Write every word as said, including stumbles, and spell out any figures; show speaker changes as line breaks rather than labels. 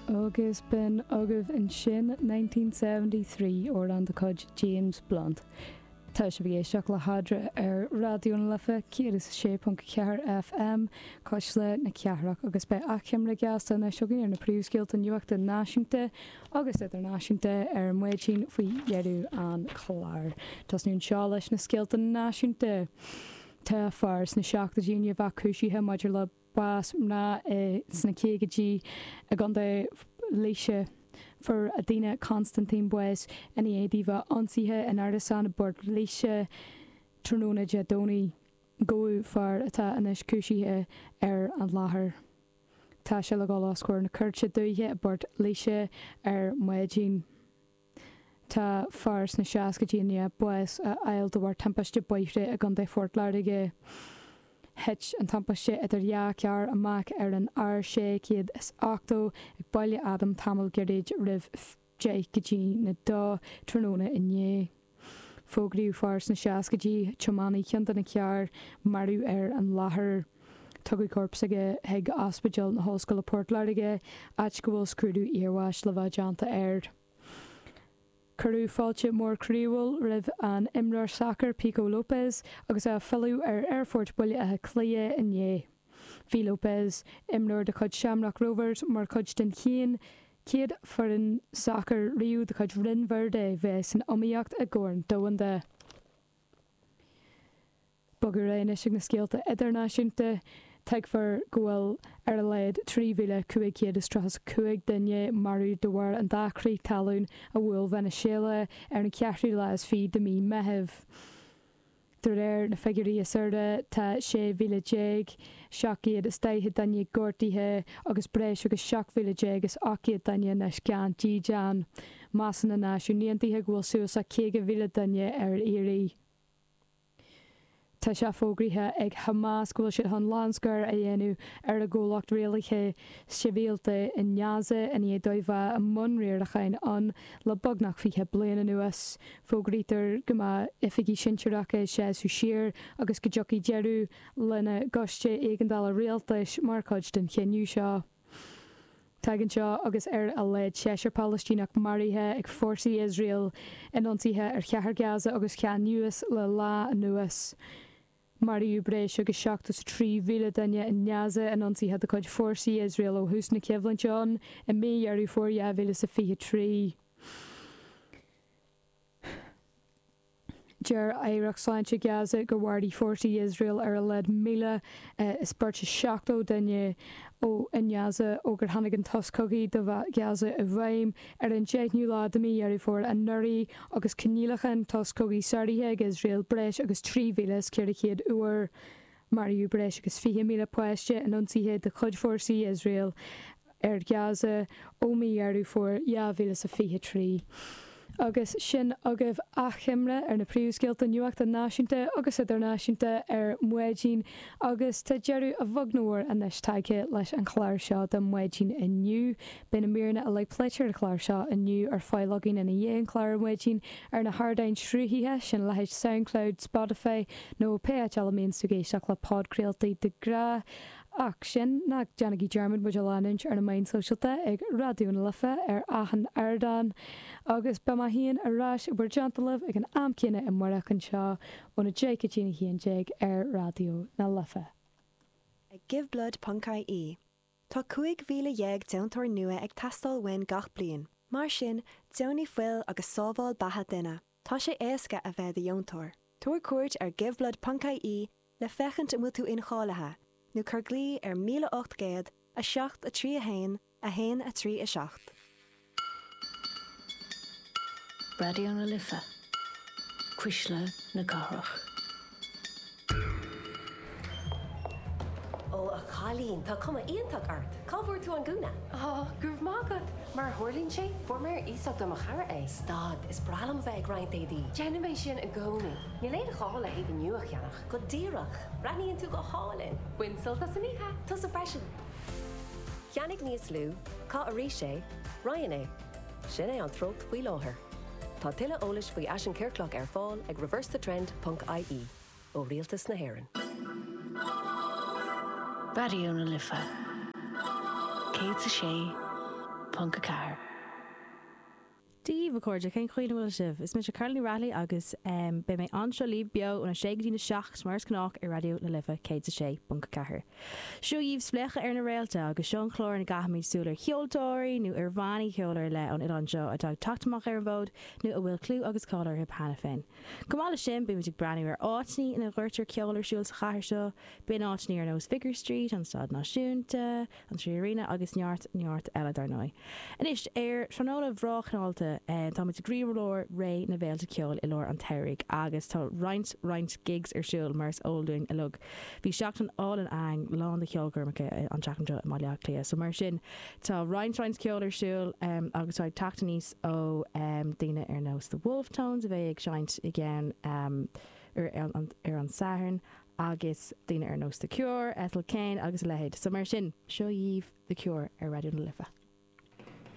Agus b'in agaibh ansin nineteen seventy three amhrán de chuid James Blunt. Tá sibh ag éisteacht le hEadra ar Raidió na Life céad is a sé ponc ceathair FM, Cuisle na Cathrach, agus beidh achoimre gheasta anois againn ar na príomhscéalta nuachta náisiúnta agus idirnáisiúnta ar maidin faoi dheireadh an chláir. Tosnú anseo leis na scéalta náisiúnta. Tá fear sna seachtóidí i ndiaidh a bheith cúisithe maidir le bás mná sna caogaidí i gContae Laoise. Fuair Adina Constantine bás i ndiaidh di bheith ionsaithe in árasán i bPort Laoise tráthnóna Dé Domhnaigh. Gabhadh fear atá anois cúisithe ar an láthair. Tá sé le dhul os comhair na cúirte dúiche i bPort Laoise ar maidin. Tá fear sna seascaidí i ndiaidh bás a fháil de bharr timpiste bóithre i gContae Phort Láirge. Thit an timpiste idir dhá charr amach ar an R sé chéad is ochtó ag Baile Adaim tamall gairid roimh deich go dtí a dó tráthnóna inné. Fógraíodh fear sna seascaidí, tiománaí ceann de na cairr, marbh ar an láthair. Tugadh corp s'aige chuig Ospidéal na hOllscoile Port Láirge, áit go bhfuil scrúdú iarbháis le bheith déanta air. Cuireadh fáilte mór croíúil roimh an imreoir sacair Pico Lopes agus é ag filleadh ar Aerfort Bhaile Átha Cliath inné. Bhí Lopes, imreoir de chuid Shamrock Rovers, mar chuid den chéad chéad foireann sacair riamh de chuid Rinn Verde bheith san iomaíocht i gCorn Domhanda. Bogadh ar aghaidh anois chuig na scéalta idirnáisiúnta. Tuigtear go bhfuil ar a laghad trí mhíle cúig chéad is tríocha a cúig duine marbh de bharr an dá chrith talún a bhuail Veiniséala ar an cheathrú lá is fiche de mhí Meitheamh. De réir na figiúirí is airde, tá sé mhíle déag seacht gcéad is daichead duine gortaithe agus breis agus seacht mhíle déag is ocht gcéad duine anois gan dídean. Measann na Náisiúin Aontaithe go bhfuil suas le caoga mhíle duine ar iarraidh. Tá sé fógraithe ag Hamas go bhfuil siad chun lánscor a dhéanamh ar a gcomhlacht rialaithe sibhialta i nGaza i ndiaidh dóibh bheith i mbun riaracháin ann le beagnach fiche bliain anuas. Fógraítear go mbeidh oifigigh sinsearacha ag seasamh siar agus go dtiocfaidh deireadh lena gcoiste éigeandála rialtais mar chuid den chinneadh seo. Tagann seo agus ar a laghad seisear Palaistíneach maraithe ag fórsaí Iosrael in ionsaithe ar chathair Gaza agus Khan Younis le lá anuas. Maraíodh breis agus seachtó is a trí mhíle duine i nGaza in ionsaithe de chuid fórsaí Iosrael ó thús na coimhlinte ann i mí Dheireadh Fómhair dhá mhíle is a fiche trí. Deir Aireacht Sláinte Gaza gur mharaigh fórsaí Iosrael ar a laghad míle is beirt is seachtó duine i nGaza ó gur tháinig an sos cogaidh do Ghaza i bhfeidhm ar an deichiú lá de mhí Dheireadh Fómhair anuraidh agus coinníollacha an tsos cogaidh sáraithe ag Iosrael breis agus trí mhíle is ceithre chéad uair. Maraíodh breis agus fiche míle páiste in ionsaithe de chuid fórsaí Iosrael ar Ghaza ó mhí Dheireadh Fómhair dhá mhíle is a fiche trí. Agus sin agaibh achoimre ar na príomhscéalta nuachta náisiúnta agus idirnáisiúnta ar maidin agus tá deireadh a bheag nó a mhór anois tagtha leis an chlár seo do maidin inniu. Beidh na míreanna uilig pléite ar an chlár seo inniu ar fáil againn ina dhiaidh an chláir ar maidin ar na hardáin sruthaithe sin, leithéid Soundcloud, Spotify nó pé áit eile a mbíonns tú ag éisteacht le podchraoltaí de ghnáth. Ach sin, ná déanaigí dearmad muid a leanúint ar na meáin sóisialta ag Raidió na Life ar achan ardán. Agus beidh mé féin ar ais i bhur dteannta libh ag an am céanna amárach anseo óna deich go dtí a haon déag ar Raidió na Life.
Ag Giveblood ponc ie. Tá cúig mhíle dhéag deontóir nua ag teastáil uainn gach bliain. Mar sin, deonaigh fuil agus sábháil beatha duine. Tá sé éasca a bheith i do dheontóir. Tabhair cuairt ar Giveblood ponc ie le féachaint an bhfuil tú incháilithe, nó cuir glao ar míle ocht gcéad, a seacht a trí a haon, a haon a trí a seacht.
Raidió na Life, Cuisle na Cathrach.
Ó, a chailín, tá cuma iontach ort! Cá bhfuair tú an gúna? Á, go raibh maith agat! Mar a tharlaíonn sé, fuair mé ar iasacht ó mo chara é. Stad, is breá liom a bheith ag roinnt éadaí. Déanaim é sin i gcónaí. Níl aon ghá le héadaí nua a cheannach. Go díreach! Breathnaíonn tú go hálainn! Bain sult as an oíche! Tusa freisin! Ceannaigh níos lú, caith arís é, roinn é. Sin é an treocht faoi láthair. Tá tuilleadh eolais faoi fhaisean ciorclach ar fáil ag reversethetrend ponc ie ó Rialtas na hÉireann.
Raidió na Life céad is a sé ponc a ceathair.
Dia daoibh a chairde cén chaoi a bhfuil sibh? Is mise Carly Raleigh agus beidh mé anseo libh beo óna sé go dtí a seacht mar is gnách ar Raidió na Life céad a sé ponc a ceathair. Seo dhaoibh Spléachadh ar na Réalta agus seo an clár ina gcaithimid súil ar cheoltóirí nó ar bhannaí ceoil ar leith ón oileán seo atá ag teacht amach ar an bhfód nó a bhfuil clú agus cáil orthu cheana féin. Chomh maith leis sin beimid ag breathnú ar áiteanna ina gcuirtear ceol ar siúl sa chathair seo, b'in áiteanna ar nós Vicar Street, an Staid Náisiúnta, an Trí Arena agus neart neart eile dar ndóigh. Anois ar tráthnóna bhreá chnálta táimid i gcroílár ré na bhféilte ceoil i lár an tsamhraidh agus tá roinnt roinnt gigs ar siúl mar is eol dúinn uilig. Bhí seachtain álainn againn lán de cheolchoirmeacha an tseachtain seo i mBaile Átha Cliath, so mar sin tá roinnt roinnt ceol ar siúl um, agus tá teacht aníos ó um, daoine ar nós The Wolfe Tones a bheidh ag seinnt i gceann um, ar, ar, ar an Satharn agus daoine ar nós The Cure, Ethel Kane agus a leithéid. So mar sin seo dhaoibh The Cure ar Raidió na Life.